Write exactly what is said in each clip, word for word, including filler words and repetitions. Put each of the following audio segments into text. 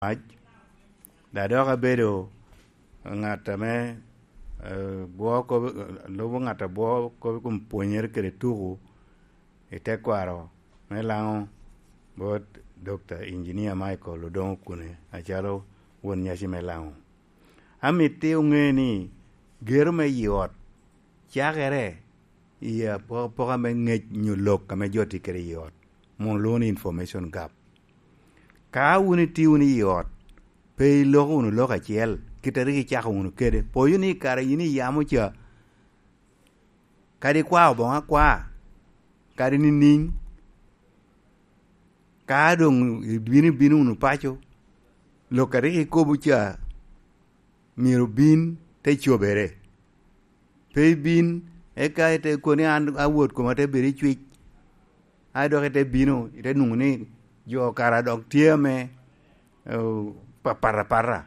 mac, dok dok abedo ŋat ame, eh, bwo kop-, lubo ŋat a bwo kop i kom pwonyere kede tuku i tekwaro me Laŋo bot Dokta Injinia Michael Odongo Okune acalo won nyaci me Laŋo. Amitti oŋe ni gero me i ot cakere i apokapoka me ŋec nyo lok ame jo tye kede i ot, mom olwoŋo ni information gap. Ka wun itye wunu i ot, pe iloko wunu lok acel, kit a rik icako wunu kede. Poyo ni i kare yin iyamo ca, kadi ikwao boŋo akwa, kadi nining, ka doŋ ibino, ibino wunu paco, lok a rik ikobo ca myero bin te cobere. Pe ibin, eka ite kono ni an awot koma te bedo i cwic, a dok ite bino, ite nwoŋo ni jo kara dok tye ame, eh, pa-, pat apata.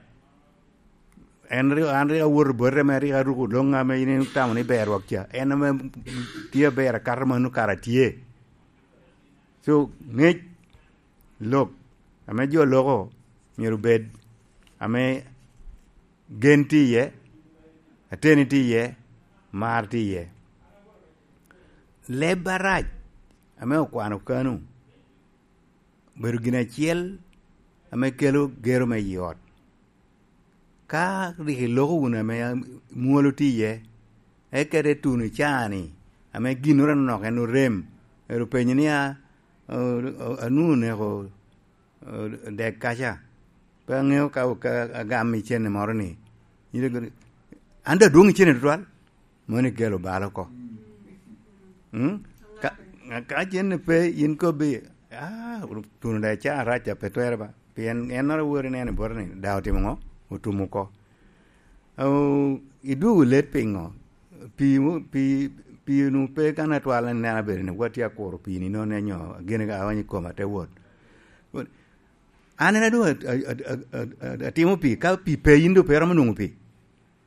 En rik, an rik awoto boti ame rik aruko loŋ ame in itamo ni ber wok ca. En ame tye aber akato mano kara tye. So, ŋec lok ame jo loko myero bed ame gen tye iye, ateni tye iye, mar tye iye. Leb arac ame okwano kano obedo gin acel ame kelo gero me i ot. Ka rik iloko wunu ame mwolo tye iye, eka ite tuno i caa-ni, ame ginnoro anonok en orem, ero penyo ni, "A, o-, o-, anwoŋo oneko, o-, dek kaca? Pe aŋeo ka, ka agam i cene moro ni." An daŋ adwoŋ i cene tutwal. Mano ikelo bal oko. Mm? Ka, ka cen pe, yin kobbi, "Ah, tuno daŋ ca arac, a pe twerre ba." Pien ennoro wori neno i bote ni, daŋ otimo ŋo? Otum oko. O, idwogo let piŋo? Pi, pi, pi nu pe kan atwal en neno abedo ni watye akuro pi ni nono nyo gin ka aonyo i koma te wot. An en adwoŋ a, a, a, a, a, atimo pi, ka pi pe yin doŋ pe romo nwoŋo pi.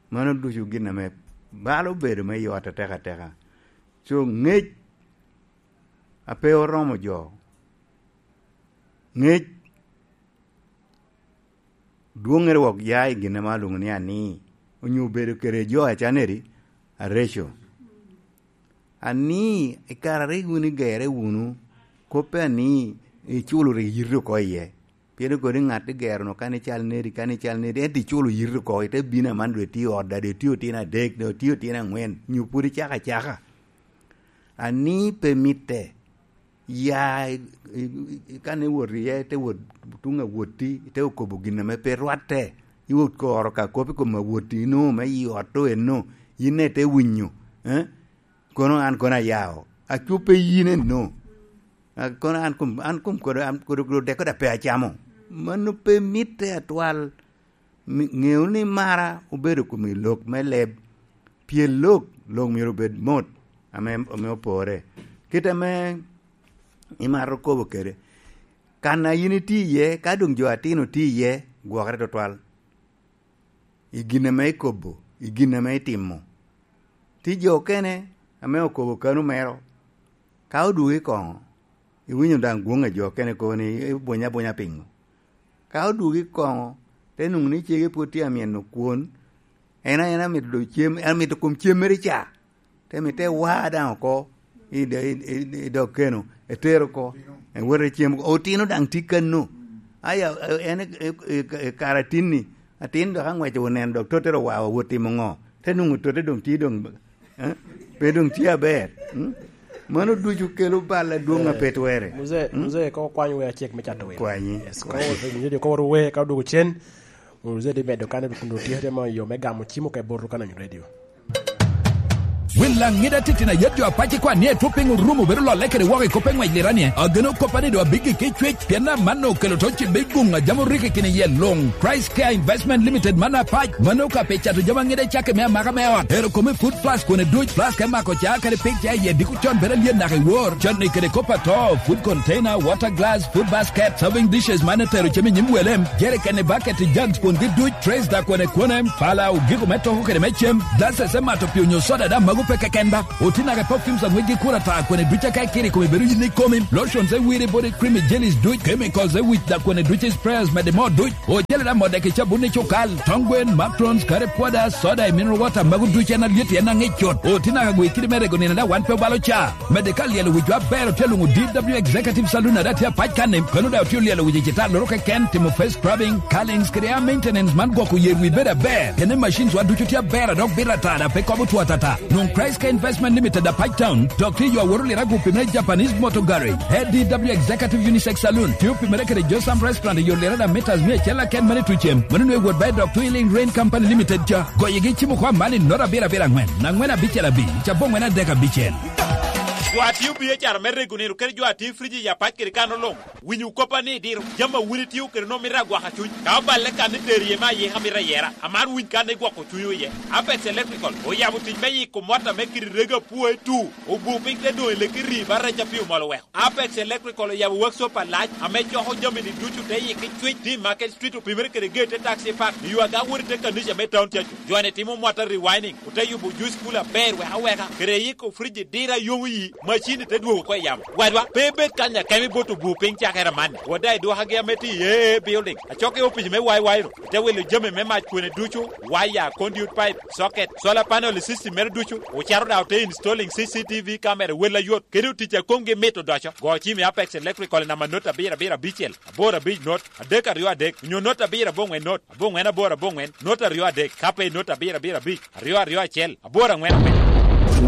Mano ducu gin ame balo bedo me yot atek ateka. So, ŋec a pe oromo jo, ŋec dwoŋŋere wok ya i gin ame alwoŋo ni ani, onyo bedo kede jo acaneri areco. Ani, i kare a rik wun igere wunu, kop pe ani, iculo rik yito oko iye. Pien kodi ŋat igero-nu kan ical nedi, kan ical nedi, ento iculo yito oko, ite bino aman doŋ itye i ot, daŋ doŋ itye otino adek, doŋ itye otino aŋwen, nyo pwod icako acaka. Ani pe mitte, ya i, i, i, kan iwot iye, ite wot tuŋ awotti, ite okobo gin ame pe rwatte, iwot koro ka kop i kom awotti, ino me i ot to eno, yin daŋ ite winyo, eh? Kono an kono ayao, acupe yin eno. A, kono an kom, an kom kodo, an kodo, kodo dek kodo pe acamo. Mano pe mitte atwal. Mi-, ŋeo ni mara obedo kom i lok me leb. Pien lok, lok myero obed mot, ame, ame opore. Kit ame imato kobo kede. Kan a yin itye iye, ka doŋ jo atino tye iye, gwokere tutwal. I gin ame ikobo, i gin ame itimo. Tye jo okene ame okobo kano mero, ka odwogo i koŋo, iwinyo daŋ gwoŋ a jo okene kobo ni, "Ibwonyo abwonya piŋo?" Ka odwogo i koŋo, te nwoŋo ni cege pwod tye amyeno kwon, en a en amito doŋ cem, amito kom cem mere ca. Te mi te wa daŋ oko i do-, i, i, i dog keno, etero oko, ewot ecem oko. Otino daŋ tye kano. Aya, en i, i, i, i kare atinni, atin dok aŋweco oneno dok totte ro wa, wa wot timo ŋo? Te nwoŋo totte doŋ tye doŋ, eh? Pe doŋ tye aber. Mm? Mano ducu kelo bal adwoŋ a pe twere. Muzee, mm? Muzee, ko kwany wer acek me cato wer. Kwanyi. Yes, ko wer, ko wer wer, ka odwogo cen, Muzee di medo kan kun otye tye mo yo me gamo cimo ka i bot Lukananyo Radio. Wil Laŋida titino ayet jo apac i kwan ni etwo piny orumo bedo lolle kede woko i kop eŋwec liranie. Ageno koppa ni do abiggi ki cwec, pien amanno okelo to cibbe i guŋ a jam oriki kine iye luŋ. Price Care Investment Limited man apac. Mano ka pe cato jami aŋida i cakki me amaka me ot. Ero kome food plus kwone duc plus ka imako ca kede pik ca iye diko con bedo alyet naka i wor. Con ni kede kop ato, food container, water glass, food basket, serving dishes man etero cem i nyim welem, jerikeni, baketi, jugs, kwongi duc, trays da kwone kwone, pala, ogiko me toko kede me cem, glasses me mato pii onyo soda da mago Pe keken ba, otinaga perfumes aŋwec gi kur ata kwene duc aka ikiri kome bedo yin i komi. Lotions e wiri body cream i jellies duc, chemicals e wic da kwene duc i sprayers mede mo duc. Ojele da modek i cabun i cukal, tongwen, matrons, kare pwada, soda i mineral water magu duc en alyet en aŋic cut. Otinaga gwe kidi me rego nino da wan pe obalo ca. Mede ka lyelo wic wa ber otye luŋu D W Executive Saloon ada tye apac kan-ni, kono da otye lyelo wic i cita loro keken, timo face scrubbing, curlings kede hair maintenance man gwoko yer wi bedo aber. Kene machines wa ducu tye aber a dok bito ata da pe kobo two atata. Nwoŋo Christ Care Investment Limited a Pike Town, dok tye yo aworo lira gupi me Japanese Motor Garage. A D W Executive Unisex Saloon, tye opimere kede Josam Restaurant i yo lira da meters mia acel aken mane tucem. Mano nwe wot ba i dok Twilling Rain Company Limited ca. Goyegi cimo kwa mani nota abiro abiro angwen, angwen abicel abic, cabo angwen adek abicel. Jo a tio biacara me rego nino kede jo a tio friji i apac kede kan oloŋ. Winyo koppa ni diro, jami a wun itio kede nwoŋo mito agwaka cuny. Ka oballe kan ni tero iye me ayika mito ayera, amaro winy kan igwoko cunywu iye. Apex Electrical oyabo tic me yiko mot ame kite rego apwoe tu, obu piny te doŋ i leki ri ba rec a pi omol oweko. Apex Electrical oyabo workshop alac ame coko jami-ni ducu te yiki cwic, tye i Market Street opimere kede geet te taxi park, i yo aga wot i te kanica me town cacu. Jo-ni timo mot a rewinding, ote yubo juice cooler aber wek aweka, kede yiko friji diro a yomo yi, macin-ni te dwogo oko i yamo. Wadwa, pe ibed kany akemo i bot obur piny cakere amanni. Wot daŋ i dwokagi ame tye i A A Building, acok i opic me Y Y ro, ite wilo jami me mac kwene ducu, waya, conduit pipe, socket, solar panel i system mere ducu. Ocito daŋ ote installing C C T V camera i wel ayot, kede otic a komgi mit odoco. Go cim i Apex Electrical i namba not abiro abiro abicel, aboro abic not, adek aryo adek, onyo not abiro aboŋwen not, aboŋwen aboro aboŋwen, not aryo adek, ka pe i not abiro abiro abic, aryo aryo acel, aboro aŋwen aŋwen.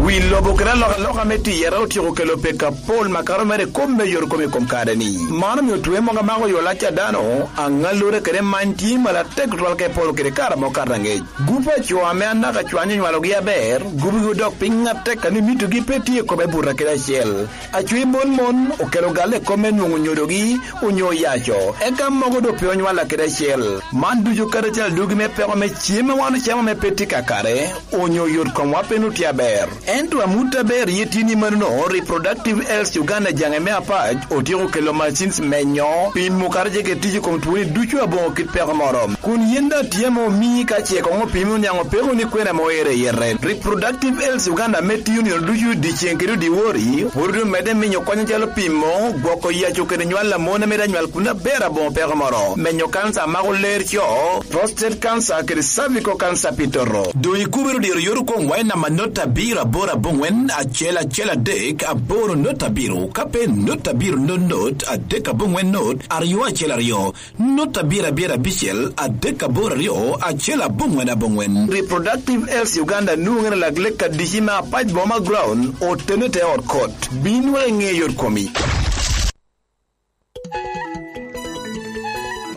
Wi lobo kede alokaloka me tiyere otyeko kelo peko apol makato mere i kop me yorokome i kom kare-ni. Man omio twe mogo amako yo lac a dano, aŋallure kede many tye malo atek tutwal ka ipolo kede kare amo kato aŋec. Gup a co ame anaka cwanyo onywalogi aber, gupgi odok piny atek a ni mitogi pe tye i kome buto kede acel. Acwi mon mon okelo galle i kop me nwoŋo nyodogi onyo oyaco, eka mogo doŋ pe onywalla kede acel. Man ducu kadi acel adugi me peko me cem a wan ocamo ame pe tye kakare, onyo yot komwa pe nwoŋo tye aber. Ento amut aber iye tye ni manono, Reproductive Health Uganda jaŋe me apac otyeko kelo machines menyo, pimo kadi ce kede tic i kom twoni ducu aboŋo kit peko moro. Kun yin daŋ tye ame omii ka ce koŋ opimi oniaŋ opeko ni kwena ame oero i yete. Reproductive Health Uganda ame tiyo nino ducu dyeceŋ kede dyewor, pwod omedde miyo kony acalo pimo, gwoko yaco kede nywal a mon ame daŋ nywal kun aber aboŋo peko moro, menyo kanca a mako ler co, prostate cancer kede cervical cancer pi toto. Doŋ ikubiro diro yot okoŋ wa i namba not abiro aboro aboŋwen acel acel adek aboro not abiro, ka pe not abiro not not adek aboŋwen not aryo acel aryo. Not abiro abiro abicel adek aboro aryo acel aboŋwen aboŋwen. Reproductive Health Uganda nwoŋere lak lek adici me apac boma ground otene te ot kot. Bin wek iŋe yot komi.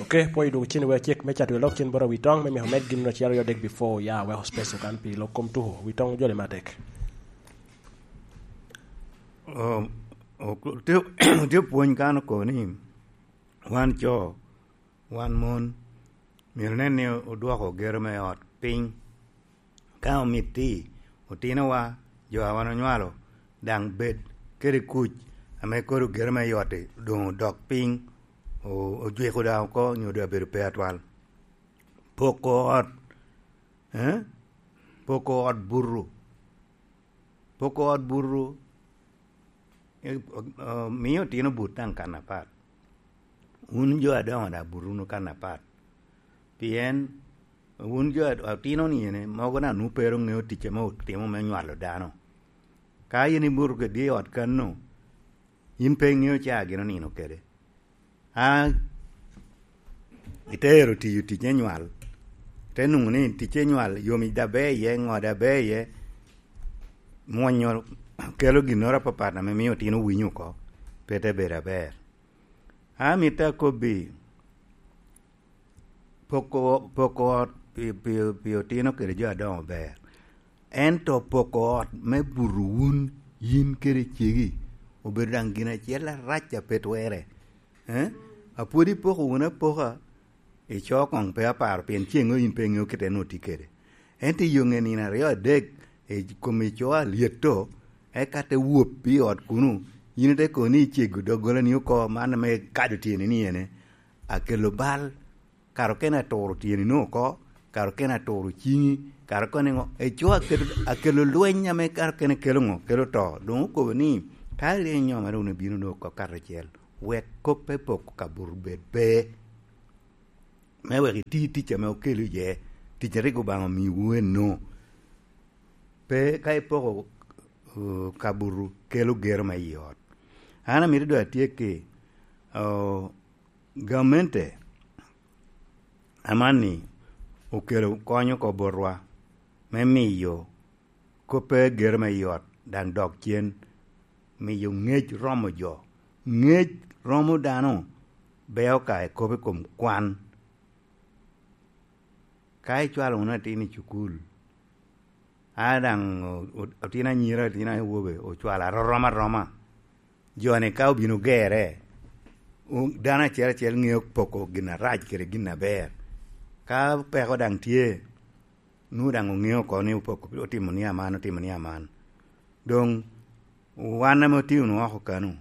Ok, pwoyo dwogo cen wek acek me cato lok cen bot awi toŋ me meko med gin acel aryo adek before ya weko space okan pi lok kom tuko. Wi toŋ ojole matek. Um, ok, tye, tye pwony kan oko ni wan co, wan mon, myero nen ni odwoko gero me ot piny. Ka omitti, otinowa, jo a wan onywalo, daŋ bed kede kuc ame kodi gero me ot-ti doŋ odok piny, o-, ojwiko daŋ oko, nyo doŋ abedo pe atwal. Poko ot, eh? Poko ot buto. Poko ot buto, eh, eh, miyo otino but daŋ kan apat. Wun jo adoŋo daŋ but wunu kan apat. Pien wun jo a-, otino ni ene, mogo daŋ nwoŋo pe ru ŋeo tic ame otimo me nywalo dano. Ka in ibuto kede i ot kanno, in pe iŋeo caa gin onino kede. A, ite ero tiyo tic me nywal, ite nwoŋo ni tic me nywal yomic daŋ ber iye, ŋo daŋ ber iye, mwonyo kelo ginnoro apapat ame mio otino winyo oko, pe te bedo aber. A, mitte akobbi, poko, poko ot pi, pi, pi otino kede jo adoŋo ber. Ento poko ot me buto wun, yin kede cegi, obedo daŋ gin acel arac a pe twerre. Eh? A pwod ipoko wunu apoka, ico koŋ pe aparo, pien ceŋ yin pe iŋeo kite nwoŋo tye kede. Ento i yo ŋe nino aryo adek, i kom ico alyetto, eka te wop i ot kuno, yin ite kono ni icego doggolani oko, man ame kado tyeni ni ene, akelo bal, kara okene aturo tyeni-nu oko, kare okene aturo ciŋi, kare okene ŋo, eco akelo, akelo lweny ame kare okene kelo ŋo, kelo to. Doŋ okobo ni, ka iryeny nyo mere wun ibino wunu oko karacel, wek kop me poko kabuto bed pe, me wek iti tic ame okelo iye, tic a rik Obaŋa omiwu eno. Pe ka ipoko, uh, kabuto kelo gero me i ot. An amito doŋ atyekki, uh, gamente amanni okelo kony oko botwa me miyo kop pe gero me i ot daŋ dok cen, miyo ŋec romo jo. Ŋec romo dano beo ka ekobo i kom kwan. Ka icwalo wunu atin i cukul, a daŋ o-, o-, otin anyira, otin awobe ocwalo arorom aroma. Jo-ni ka obino gerre, o-, dano acel acel ŋeo poko gin arac kede gin aber. Ka peko daŋ tye, nwoŋo daŋ oŋeo oko ni opoko, otimo ni aman, otimo ni aman. Doŋ wan ame otye wunu oko kanu,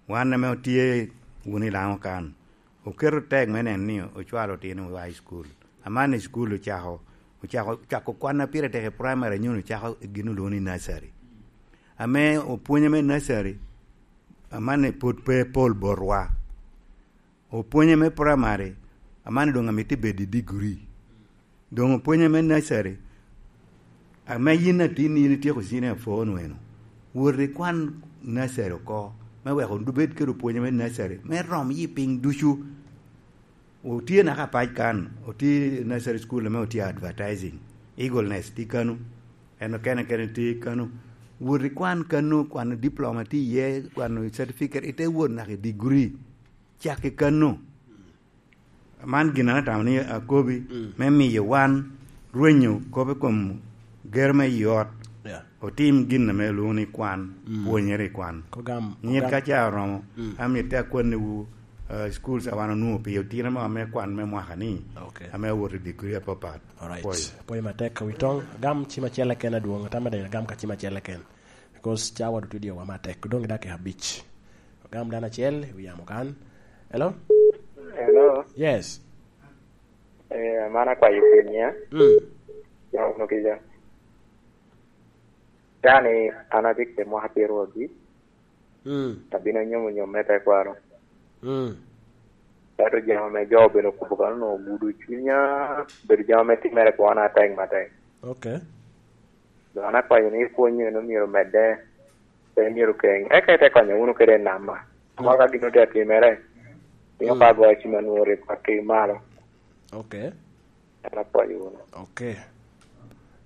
wan ame otye wunu i Laŋo kan, oketo tek me neno ni ocwalo otino i high school. Aman i school ocako, ocako, ocako kwan a pire tek i primary, anyono ocako gin olwoŋo ni nursery. Ame opwonye me nursery, aman pwod pe pol botwa. Opwonye me primary, aman doŋ amito bedo i degree. Doŋ opwonye me nursery, ame yin atin, yin ityeko senior four wunu eno, wot ikwan nursery oko, me wek obed kede opwonye me nursery, me rom yi piny ducu. Otye naka pac kan, otye nursery school ame otye advertising, Eagle Nest tye kanu, en okene kene tye kanu. Wot ikwan kanu, kwano diploma tye iye, kwano certificate, ite wot naka i degree. Cak i kanu. Man gin an atamo ni akobi, mm, me miyo wan rwenyo kop i kom gero me i ot, yeah, otim gin ame olwoŋo ni kwan, mm, pwonyere i kwan. Kogam, nyit kogam. Ka ca oromo, mm, amito akwanniwu, uh, schools a wan onwoŋo pi otino mo ame kwan me mwaka ni, okay, ame owoto i degree apapat. Alright. Pwoyo. Pwoyo matek ka wi toŋ. Agam cim acel keken adwoŋ, atamo ni agam ka cim acel keken. Because cawa dutudi owa matek, doŋ i dakika abic. Ogam dano acel i wi yamo kan. Hello? Hello? Yes. Eh, man akwayo piny ya. Mm. Ya, ono kica. Dani, an atye kede mwaka pyeraryo abic. Mm. Abino nyomo nyom me tekwaro. Mm. Ento jami ame jo obedo kubo kano ogudo cwinya, obedo jami ame timere kwona atek matek. Okay. Dok an akwayo ni pwony eno myero omedde, pe myero keny. Eka ite konyo wunu kede i nama. Amaka gin otye atimere, miyo, mm, pa goyo cim anwoŋo rik otim malo. Okay. An apwoyo wunu. Okay.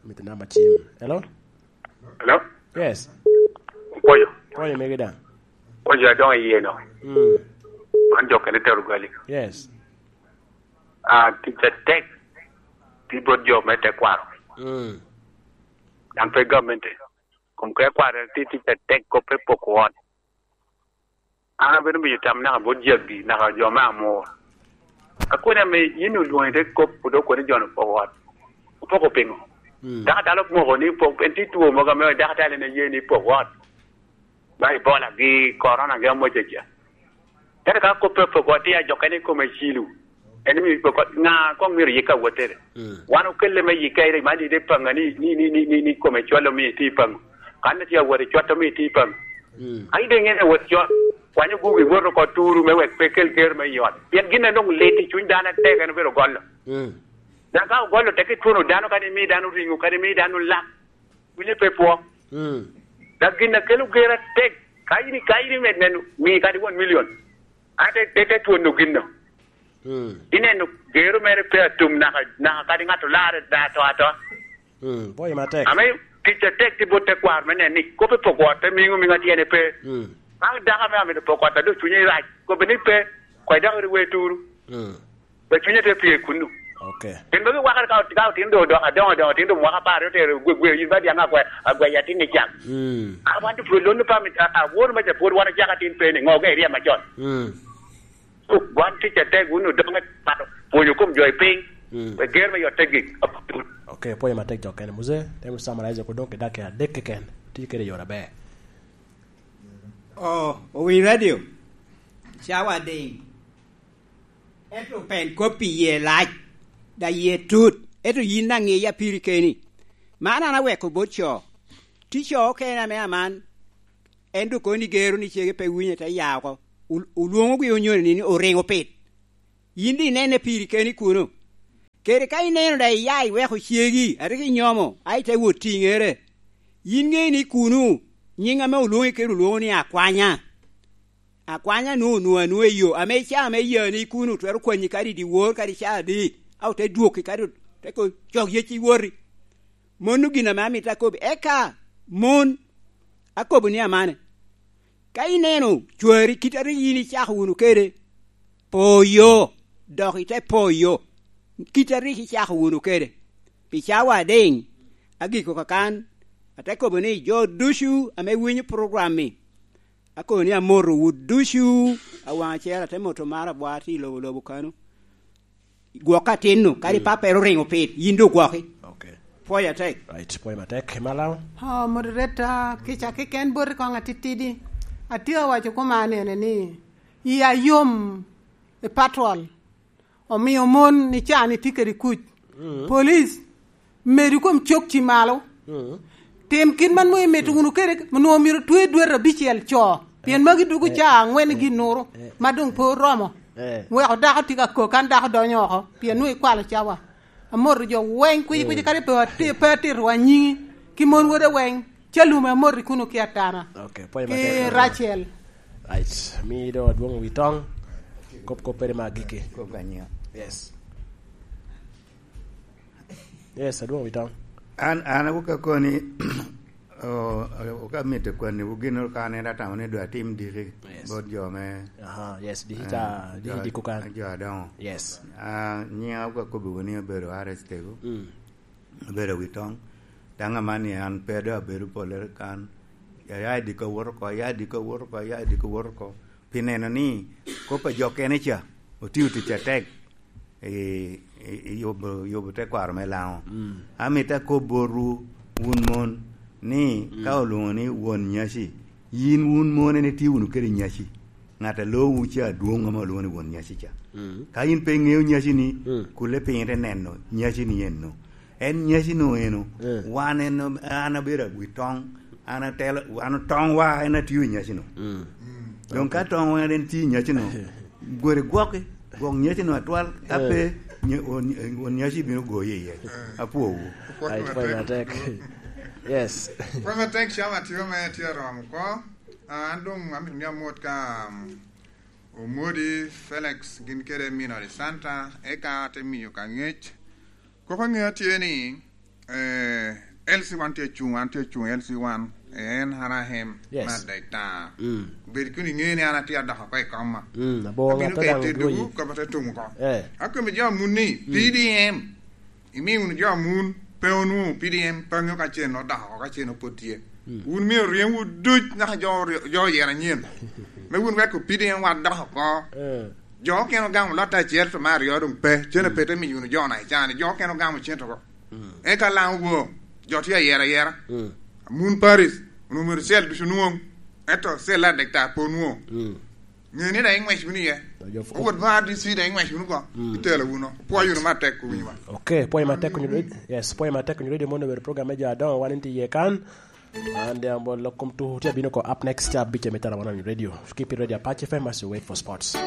Mito namba cim. Hello? Hello? Yes. Pwoyo. Pwoyo megi daŋ. Pwoyo adoŋo iye no. Mm. An jo kene tero gali. Yes. Ah, tic atek tye bot jo me tekwaro. Mm. Daŋ pe gamente. Kom ke kwaro tye tic atek kop pe poko ot. An abedo miyo tam naka bot jaggi, naka jo me amor. Akoni ame yin olwoŋi te kop, pwod okoni jo-nu poko ot. Opoko piŋo? Mm. Dako dalo moko ni pok, en tye two mogo ame dako dalo en aye ni poko ot. Ba Ebola gi Corona gi amoca ca. Ento ka kop pe opoko ot, tye ajokkene i kome cilo. En omio iko ko-, ŋa koŋ myero yik awottere? Mm. Wan okelle me yik ka iri man ide paŋa ni, ni, ni, ni, ni, ni kome cwal omio itye i paŋo. Kan itye awot i cwat omio itye i paŋo. Mm. Ai, de ŋene awot cwat. Kwanyo gugi iwot oko turu me wek pe kel ger me i ot. Pien gin a nwoŋo lit i cuny dano atek en obedo golo. Mm. Dok ka ogolo tek itwono dano, kadi imi dano ringo, kadi imi dano lak. Winyo pe pwo. Mm. Dok gin a kelo ger atek, ka in, ka in imed neno, mi kadi one million. Ate, te, te twono gin-nu. Mm. Ineno gero mere pe atum naka, naka kadi ŋat olarre da ato ato. Mm, pwoyo matek. Ame tic atek tye bot tekwaro me neno ni kop i poko ot pe miŋo miŋa tyene pe. Mm. Ka dako ame amito poko ot, a dok cunye rac, kobbe ni pe, kwai dako ri we turu. Mm. Pe cunye te pye kunnu. Okay. Gin magi wakere ka ot-, ka otino do odoko adoŋo adoŋo, otino do mwaka apar, otero gwe, gwe, yin ba diaŋ agwe, agwe atin ni cak. Mm. A wan tye pwod lonnu pa mi, a, a, won me ja pwod wan ocako atin pe ni, ŋo ge iryem macon. Mm. Wan tic atek, wun odoŋe pato, pwonyo kom jo i piny, mm, wek ger me yotte gik. Okay, pwoyo matek jo kene. Muse, temo summarize ko doŋ ki dakika adek keken. Ti kede yore aber. Oh, owiny radio. Cawa ding. Ento pen kop i yie lac, da yie tut. Ento yin daŋ ŋiya piri keni. Man an aweko bot co. Tye co okene ame aman, en doŋ kono ni gero ni cege pe winyo, te ya oko. Ol-, olwoŋogi onyoni ni, ni oriŋo pit. Yin daŋ inene piri keni kuno. Kede ka ineno daŋ iya iweko cegi, a rik inyomo, a ite wot tiŋere. Yin ŋe ni kuno, nyiŋ ame olwoŋi kede olwoŋo ni akwanya. Akwanya nwoŋo onwoŋo anwoŋo i yo, ame i caa ame yani kuno twero kwanyi kadi i dyewor, kadi caa adi, a ote dwoki, kadi ote ko cok yec iwoti. Mano gin ame amito akobi. Eka mon, akobo ni amane. Ka ineno cwari kit a rik yin icako wunu kede, po yo, dok ite po yo, kit a rik icako wunu kede. Pi cawa adiŋ, agiko kakan, ate kobo ni jo ducu ame winyo program-mi, akobo ni amotowu ducu, awaŋ acel ate moto mar abwa tye i lobo lobo kano. Gwok atinno, kadi Mm. pappere oriŋo pit, yin doŋ gwoki. Ok. Pwoyo atek. Right, pwoyo matek. Imalaw? Oh, moderator, kica keken boti koŋ atitidi. Atye awaco koma nene ni, iya yom i patrol. Omio mon i caa-ni tye kede kuc. Mm. Police, medu kom cok ci malo. Mm. Tim kit man nwoŋo imito wunu kede, nwoŋo myero twe dwete abicel co. Pien Eh, magi dwogo eh, caa aŋwen eh, gin nuru, eh, ma doŋ pe oromo. Eh. Weko dako tye ka kok, kan dako donyo oko, pien nwoŋo ikwalo cawa. Amoto jo weng, kwic, kwic, Mm. kadi pe ati-, pe atito wa nyiŋi, ki mon wode weng, Calum amoti kuno ki Atana. Ok, pwoyo Ki matek. Rachel. Right. Mi do adwoŋ wi toŋ. Kop, kop pere ma agikki. Kop ka nyiŋa. Yes. Yes, adwoŋ wi toŋ. An, an awoka koni, o, o, ka mitte kwanni wu gin ka an en atamo ni dwa tim diki Yes. bot jo me, Aha, yes, diki eh, ka, diki jo, diko kan. Jo adoŋo. Yes. Ah, nyiŋa awoka kobi wuni abedo Ares Tego. Mm. Abedo wi toŋ. Daŋ aman ni an pe doŋ abedo pollere kan. Aya i diko wot oko, aya i diko wot oko, aya i diko wot oko. Pi neno ni kop a jo kene ca otio tic atek i, i, i yubo, yubo tekwaro me Laŋo. Mm. Amito akob botwu wun mon ni Mm. ka olwoŋo ni won nyaci, yin wun mon en itye wunu kede nyaci. Ŋat a lowu ca adwoŋ ame olwoŋo ni won nyaci ca. Mm. Ka in pe iŋeo nyaci-ni, Mm. kulle piny ite neno nyaci-ni eno. En nyaci-nu eno, Mm. wan en, an abedo awi toŋ, an atelo, an toŋwa en atio i nyaci-nu. Mm. Doŋ ka toŋwa en tye i nyaci-nu, gwori gwoki, gwok nyaci-nu atwal, ka Mm. pe, nya-, on-, on nyaci bino goyi iye. Apwowu. Ai, pwoyo matek. Yes. Pwoyo matek, cam atio me tye aromo ko. Ah, an doŋ amito ni amot ka, um, Omodi Felix gin kede Minori Santa, eka ate miyo ka ŋec. Kop aŋeo tye ni, eh, L C one tye acuŋ, an tye acuŋ L C one, eh, en Harahem, Yes. me adek ta. Mm. Bed kun iŋeo ni an atye adok oko i koma. Mm, abor Abino ate kede daŋ teddowu, dwoyi. Kop ate tum oko. Eh. Akobo jo amun ni, Mm. P D M. Imi wunu jo amun pe onwoŋo P D M pe ŋeo ka cen odok oko, ka cen pwod tye. Mm. Wun myero oryemwu duc naka jo oryo-, jo oyero anyen. Me wun weko P D M wa dok oko. Eh. Jo okene ogamo lotte acel, to me aryo doŋ pe. Cen Mm. pe te miyo wunu jo na i caa-ni. Jo okene ogamo cen oko. Mm. Eka Laŋo wo, jo tye ayera ayera. Mm. Amun Paris, onwoŋo myero cel ducu nwoŋ. Ento cel adek ta pe onwoŋo. Mm. Ŋe ni daŋ iŋwec wunu iye. Owot ba R D C daŋ iŋwec wunu ko. Mm. Itelo wunu. Pwoyo wunu matek, owinyo ba. Ok, pwoyo matek, Onyo Radio. Yes, pwoyo matek, Onyo Radio mono obedo program me jo adoŋo, wan tye iye kan. An de amol lok kom tuko tye abino ko up next, tye abic me tara wan Onyo Radio. Keep it Radio Apache F M as you wait for sports.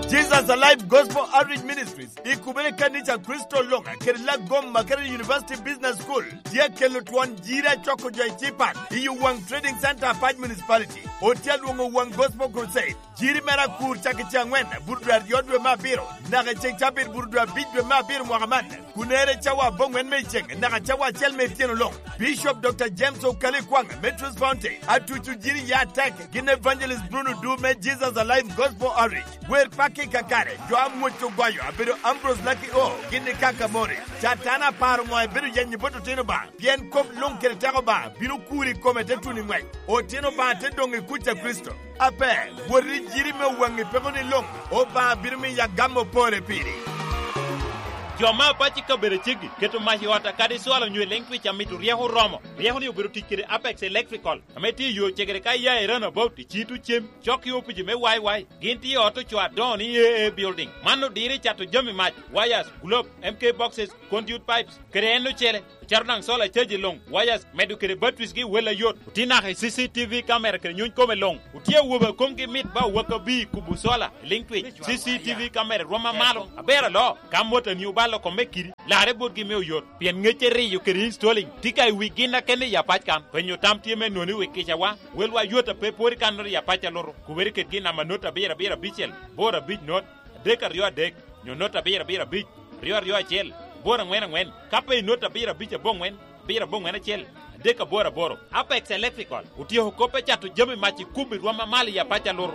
Jesus Alive Gospel Outreach Ministries, i kubere kanisa Kristo Loŋa, kede Lagoma kede University Business School, tye kelo twon jiri acoko jo i Cipat, i Owaŋ Trading Center, Apac Municipality. Otye alwoŋo Owaŋ Gospel Crusade. Jiri mere akur cak i ce aŋwen, bur dwe aryo dwe me abiro, naka i ceŋ cabit bur dwe abic dwe me abiro mwaka man, kun ere cawa aboŋwen me iceŋ, naka cawa acel me ityeno luŋ. Bishop Doctor James Okali Kwaŋ, Metro Fountain, atuco jiri ya atek, gin Evangelist Bruno Du me Jesus Alive Gospel Outreach. Wer pakki kakare, jo amwoc ogoyo, abedo Ambrose Lucky O, gin i Kaka Morris. Catan aparo ŋo ebedo yenyo bot otino ba? Pien kop luŋ kede teko Obaŋa bino kuri i kome te tuno i ŋwec. Otino Obaŋa te doŋ i kuc a Kricito. Ape, wot i jiri me Owaŋi peko ni luŋ, Obaŋa bino miyo agam opore piri. Jo me apac i kabedo aceggi keto mac i ot akadi cwalo onyo i Lentwich amito ryeko oromo. Ryeko-ni obedo tic kede Apex Electrical, ame tye i yo cegere ka iya i Roundabout, i Cito Cem, cok i opici me Y Y. Gin tye i ot ocoo adoŋo ni A A Building. Man odiro i cato jami mac, wires, globe, M K boxes, conduit pipes, kede en ocele. Ocako daŋ solar charge luŋ, wires, medo kede batteries gi wel ayot. Otye naka i C C T V camera kede nyuny kome luŋ. Otye awobe a komgi mit ba owaka bi i kubo solar i Lentwich. C C T V camera rwom amalo. Aber aloo, ka motani obalo kome kidi, larre botgi me oyot. Pien ŋecce riyo kede installing tye ka i wi gin a kene i apac kan. Penyo tam tye me noni wi kicawa. Welwa yot a pe pwod i kannoro i apac a luto. Kubere kedgi namba not abiro abiro abicel, bor abic not, adek aryo adek, nyo not abiro abiro abic, ryo aryo acel, bor aŋwen aŋwen. Ka pe i not abiro abic aboŋwen, abiro aboŋwen acel, adek aboro aboro. Apex Electrical otyeko kop me cato jami mac i kubo i rwom amalo i apac a luto.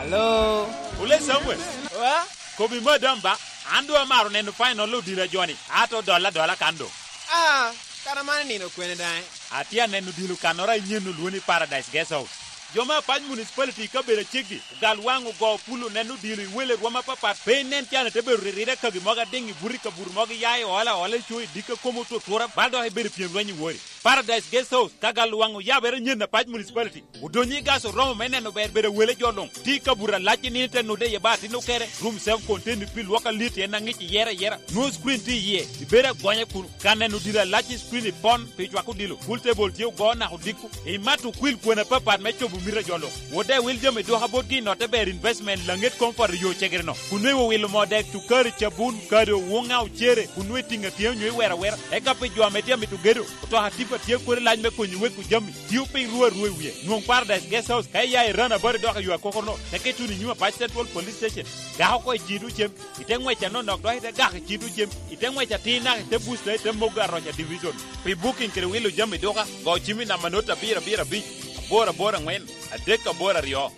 Hello. Ole Samuel. Wa? Kobi madam ba, an doŋ amaro neno final odilo a joni, ato dolla adola kan doŋ. Ah, kara man nino kwene daŋ? Atye aneno odilo kannoro a inyen olwo ni Paradise Guest House. Jo me Apac Municipality i kabedo aceggi, ogal waŋ ogo pul oneno odilo i wele rwom apapat, pe inen can ite bedo ririre kagi mogo adiŋ i buto i kabuto mogo iya i ola ola i co i dikka komo otutura, bal dok ibedo i pyem lweny i wori. Paradise Guest House, ka gal waŋ oyabere nyen Apac Municipality, odonyo i gas oromo me neno ber bedo awele jo luŋ. Tye i kabuto alac i nino ite nude iye ba atin okere, room self contained pi lwok alit en aŋic iyere ayera. Nwoŋo screen tye iye, ibedo agonya kuno. Ka neno odilo alac i screen ipon pi cwako odilo, pool table tye ogo naka odiko. Imato okwil kwena apapat me cobo mito a jo luŋ. Wot daŋ iwil jami dwoka botgi i notte ber investment Laŋet Comfort i yo cegere-no. Kun nwoŋo iwilo moo dek, cukari, cabun, kado, wuŋa, ocere, kun nwoŋo itiŋo atyea onyo iwero awera. Eka pi jo ame tye amito gedo, otoka tipa tye kodi lac me konyi weko jami. Tio piny ru arua i wie. Nwoŋ Paradise Guest House ka iya i Roundabout idok i yo akokono, teke ituno i nyim Apac Central Police Station. Gak oko i Cito Cem, ite ŋwec anonok dok ite gak i Cito Cem, ite ŋwec atir naka ite Booster ite Mogo Aroca Division. Pi booking kede wilo jami duka, go cim i namba not abiro abiro abic, aboro aboro aŋwen, adek aboro aryo.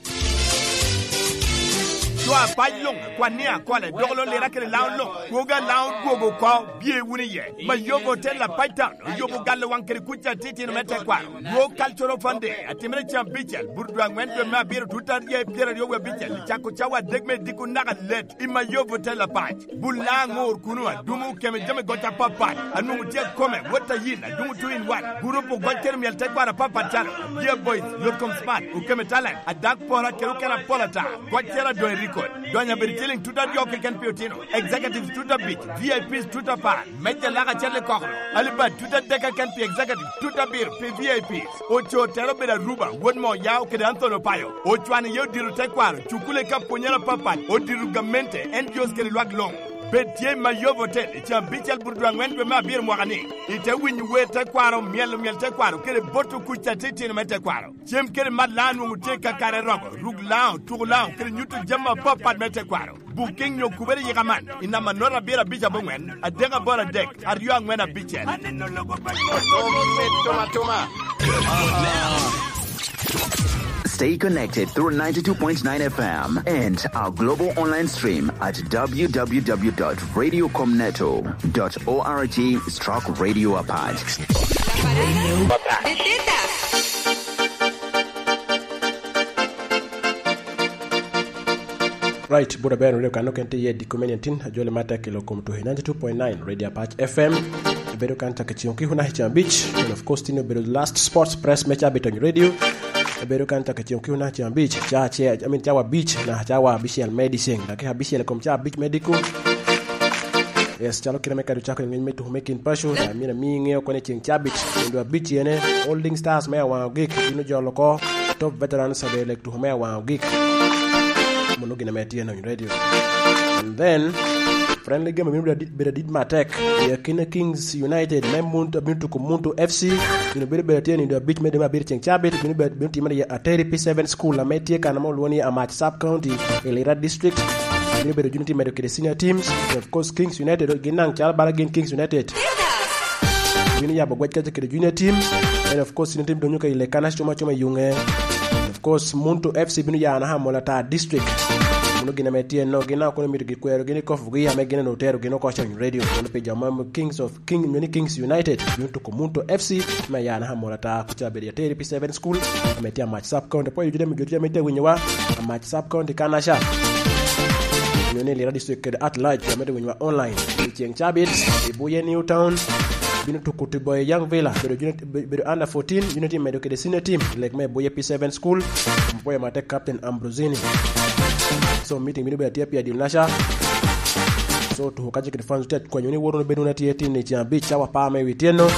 Jo apac luŋ, kwan ni akole, dok lo lira kede laŋo luŋ, kwogo alaŋo dwogo oko, bye wunu iye. Mayobo Hotel Apac Town, oyobo galo waŋ kede kuc atitino me tekwaro. Dwo Cultural Fund Day, atimere cen abicel, buto dwe aŋwen dwe me abiro, tut aryo pyeraryo wie abicel, cako cawa adek me diko naka let, i Mayobo Hotel Apac. Bul laŋo ŋor kuno, adumo okeme jami goc apapat, anwoŋo tye akome, wot a yin, adumo two in one. Gurup ogoc kede myel tekwaro apapat calo, Dear Boys, Yot Kom Smart, Okeme Talent, Adak Pora, kede okene apol ata, goc cero adoŋ i record. Donyo abedo ciliŋ tut aryo keken pi otino, executives tut abic, V I Ps tut apar, meja lak acel i kokoro, Alibad tut adek keken pi executives, tut abiro pi V I Ps. Oco tere obedo Aruba, wot Moyao kede Anthony Opayo. Ocwano iye odiro tekwaro, cukule ka pwonyere apapat, odiro gamente, N G Os kede lwak luŋ. Bed tye i Mayobo Hotel, i caa abicel buto dwe aŋwen dwe me abiro mwaka ni. Ite winyo wer tekwaro, myelo myel tekwaro, kede boto kuc atitino me tekwaro. Cem kede mat laŋo nwoŋo tye kakare rogo, ruk laŋo, tuko laŋo, kede nyuto jami apapat me tekwaro. Booking nyo kubere yika man, i namba note abiro abic aboŋwen, adek aboro adek, aryo aŋwen abicel. Stay connected through ninety-two point nine F M and our global online stream at W W W dot radio com neto dot org stroke radio apart. La parada de tetas. Right, buto aber wulio kan oken tye iye diko me niatin, ajoli matek i lok kom tuhi ninety-two point nine Radio Apac F M. Ibedo kan cak i ceng okiko naka i ceng abic, and of course, tin obedo last sports press me Cabit on Radio. Ibedo kan cak i ceng okiko naka i ceng abic, ca acel, I mean, cawa abic, naka cawa abicel me dyeceng, dakika abicel i kom ca abic me diko. Yes, calo kite me kadi ocako i ngec me tuko me kin paco, amyero ami iŋeo kono i ceng Cabit, kendo abic ene, Holding Stars me Awaŋ Ogik, bino jolo oko, Top Veterans, abedo lek tuko me Awaŋ Ogik. Mano gin ame tye i Nony Radio. And then, friendly game bino bedo adit, bedo adit matek. I akina Kings United me Muntu, bino tuko Muntu F C, bino bedo, bedo tye nindo abic me dwe me abiro ceng Cabit, bino bedo, bino timere i Ateri P seven School, ame tye kan ame olwongo ni Amac Sub County, i Lira District. Bino bedo juni tye medo kede senior teams. And of course, Kings United, gin naŋ calo bala gin Kings United. Bino yabo gwec kaca kede junior team. And of course, senior team donyo ka i Lekana cuma cuma i Yunge. And of course, Muntu F C bino ya naka Mola ta district. Mano gin ame tye no, gin a kono mito gikwero gin i kofu gi ame gin onongo otero gin oko Cony Radio. Kono pi jo ma Kings of King, mini Kings United, bino tuko Muntu F C me ya naka Mola ta, kuca bedo Ateri P seven School, ame tye Amac Sub County. Pwod jodi ame, jodi ame tye winyowa, Amac Sub County Kanasha. onyo ni Lira District kede at large, amito winyowa online. I ceŋ cabit, i Buye New Town, bino tuko Tiboye Young Villa, bedo junior, be-, bedo under fourteen, junior team medo kede senior team, i lek me Buye P seven School, Mpoya Mate Captain Ambrosini. So, meeting bino bedo atye pi adil naca. So, tuko kace kede fans, tye akwanyo ni woro bedo na tye tin i ceŋ abic, cawa apar me wi tyeno.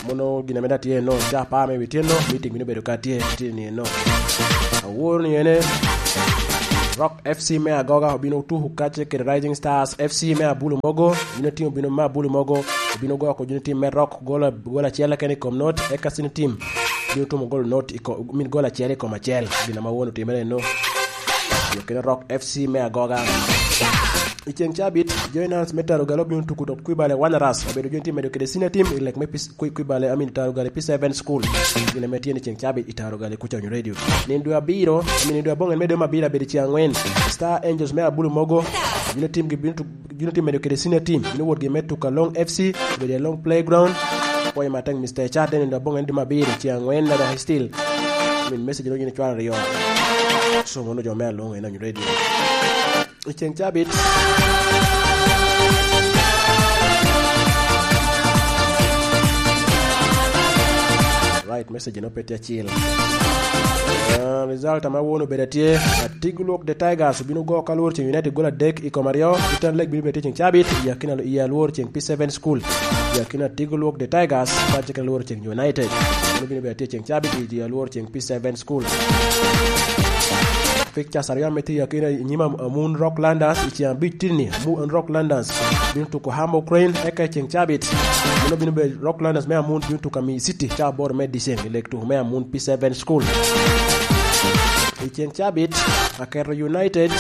Mono gin ame da tye eno, cawa apar me wi tyeno, meeting bino bedo ka tye, tye ni eno. Aworo ni ene, Rock F C me Agoga obino tuko kace kede Rising Stars F C me Abulu Mogo, junior team obino me Abulu Mogo, obino go oko junior team me Rock, gol a-, gol acel keken i kom not, eka senior team bino tumo gol not i ko-, min gol acel i kom acel, gin ame aworo otimere eno. Yo kene Rock F C me Agoga. I ceŋ cabit, Joy Nance me Tarogale obino tuko dok Kwibale Wanderers, obedo junior team medo kede senior team i lek me pis-, Kwi-, Kwibale, I mean, Tarogale P seven School. Gin ame tye ni ceŋ cabit i Tarogale kuca onyo radio. Nindo abiro, I mean, nindo aboŋen me dwe me abiro abedo ceŋ angwen. Star Angels me Abulu Mogo, junior team gi bino tu-, junior team medo kede senior team. Bino wot gi me tuko Along F C, obedo Along Playground. Pwoyo matek, Mister Ecate, nindo aboŋen dwe me abiro ceŋ angwen, na dok still. I mean, message no gin cwalo aryo. So, mono jo me Along en onyo radio. I ceŋ cabit. Right, message no pe tye acil. Ah, result ame awuono obedo atye, Atigo Lwok the Tigers obino go ka Alwor ceŋ United gol adek i kom aryo, Return Leg bino bedo tye ceŋ cabit, i akina, i Alwor ceŋ P seven School, i akina Atigo Lwok the Tigers, ka cik Alwor ceŋ United. Mano bino bedo tye ceŋ cabit, i Alwor ceŋ P seven School. Pictures aryo ame tye i akina i nyim Am-, Amun Rocklanders i ceŋ abic tini, Amun Rocklanders bino tuko Hambo Crane, eka i ceŋ cabit, mano bino bedo Rocklanders me Amun bino tuko Ami City, ca aboro me dyeceŋ i leg tuko me Amun P seven School. I ceŋ cabit, Aketo United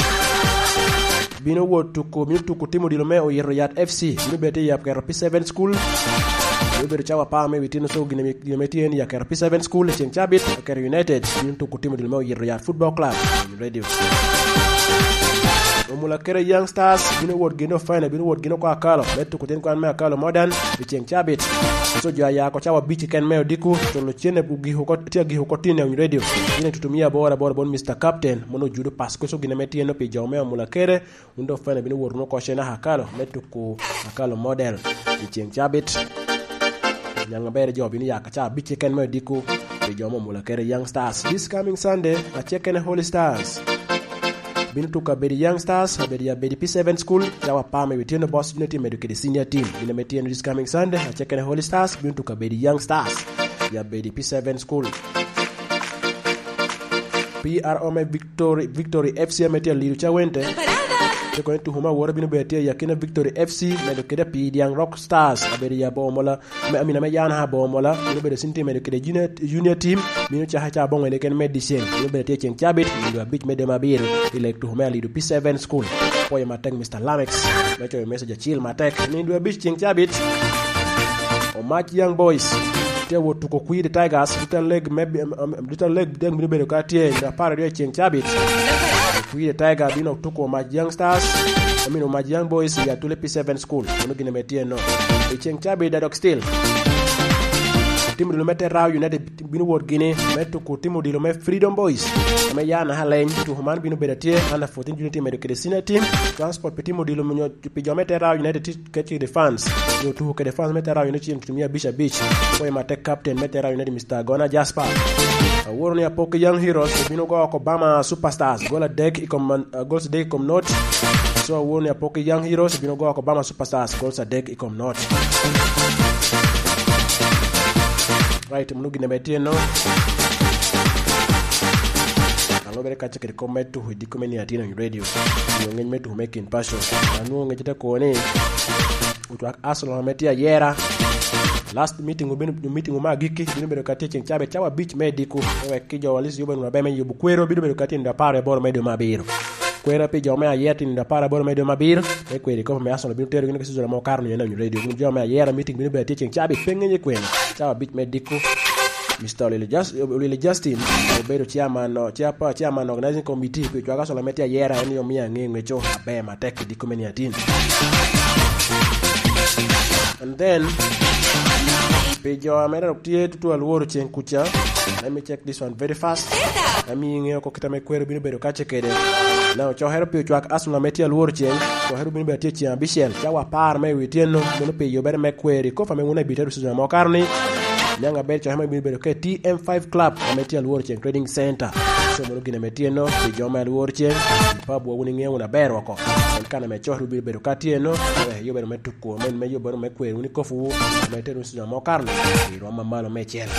bino wot tuko, bino tuko tim odilo me Oyito Yat F C, bino bedo i Aketo P seven School, bino bedo cawa apar me wi tino, so gin ame, gin ame tye en i Aketo P seven School i ceŋ cabit, Aketo United bino tuko tim odilo me Oyito Yat Football Club. Radio. Omulakere Young Stars bino wot gino final, bino wot gino oko Akalo, me tuko tin kwan me Akalo Modern i ceŋ cabit. So jo aya oko cawa abic keken me odiko, culo cene ogiko oko, tye agiko oko tin i Radio. Gin i tutu mia aboro aboro bot Mister Captain, mono ojudo pas, koso gin ame tye no pi jo me Omulakere, wun dok final bino wot wunu oko cene Akalo, me tuko Akalo Model i ceŋ cabit. Nyaŋ aber jo bino ya ka ca abic keken me odiko pi jo me Omulakere Young Stars. This coming Sunday, acek kene Holy Stars bino tuko Abedi Young Stars, Abedi, Abedi P seven School, cawa apar me otyeno, boss junior team medo kede senior team. Gin ame tye this coming Sunday, acek kene Holy Stars bino tuko Abedi Young Stars, ya Abedi P seven School. P R O me Victory, Victory F C ame tye Alido Cawente. Te kono tuko me awora bino bedo tye i akina Victory F C, medo kede Pii Diaŋ Rock Stars, abedo i Abomola, me, amina me Yana Abomola, bino bedo sin team medo kede junior, junior team, mino caka ca aboŋo ene ken me dyeceŋ, bino bedo tye ceŋ cabit, nino abic me dwe me abiro, i leg tuko me Alido P seven School. Pwoyo matek Mister Lamex, me coyo message acil matek, nino abic ceŋ cabit. Omac Young Boys tye wot tuko Kwir the Tigers, Little Leg me, um, um, Little Leg dek bino bedo ka tye i apar aryo i ceŋ cabit. Kwir the Tiger bino tuko Omac Young Stars, I mean, Omac Young Boys i Atule P seven School. Mano gin ame tye no. I ceŋ cabit, Dadok Steel, tim dulu me Terra United bino wot gini me tuko tim odilo me Freedom Boys, ame ya na aleny. Tuko man bino bedo atye under fourteen junior team medo kede senior team. Transport pi tim odilo nyo pi jo me Terra United ti-, kede fans, nyo tuko kede fans me Terra United cen mia abic abic. Pwoyo matek captain me Terra United, Mister Gona Jasper. Aworo ni Apoki Young Heroes obino go oko Bama Superstars, gol adek i kom man, uh, goals adek i kom not. So, aworo ni Apoki Young Heroes obino go oko Bama Superstars, goals adek i kom not. Right, mano gin ame tye no. Alubere kaca kede kop me tuko i diko me niatin on radio. Nyo ngec me tuko me kin paco. Anwo ngec te koni. Otwak Arsenal ame tye ayera. Last meeting obino, meeting ma agikki, bino bedo ka tye ceng cabe cawa abic me diko. Me wek ki jo walis yubo nwa beme yubo kwero, bino bedo ka tye nda apar aboro me dwe me abiro. Kwera pi jo me ayera tye nda apar aboro me dwe me abiro. Me kweri kopo me Arsenal bino tero gin ka season mo karo ni ena nyuto radio. Gin jo me ayera meeting bino bedo tye ceng cabe pe ngenye kwena. Cawa abic me diko. Mister Olili Just-, Olili Justin obedo chairman o-, chairpa-, chairman organizing committee pi cwaka solo me tye ayera, en yo miyo ange ngeco aber matek i diko me niatin. And then, pi jo ame dok tye tutu alworo ceng kuca, Let me check this one very fast. Let me ŋeo ko kita me kwero bino bedo kace kede. Na ocokere pi ocwak Arsenal me tye alwor ceng, ocokere bino bedo tye ceng abicel. Cawa apar me wi tyenno, mono pi yubere me kwero i kofa me wun abitero season mo karo ni. Nyaŋ aber ocokere me bino bedo ke T M five Club ame tye alwor ceng Trading Center. So mono gine me tyenno, pi jo me alwor ceng, pa bwo wun iŋeo wun aber woko. En kan ame ocokere bino bedo ka tyenno, yubere me tuko, men me yubere me kwero wun i kofu, me tero wun season mo karo ni, i rwom mamalo me cel.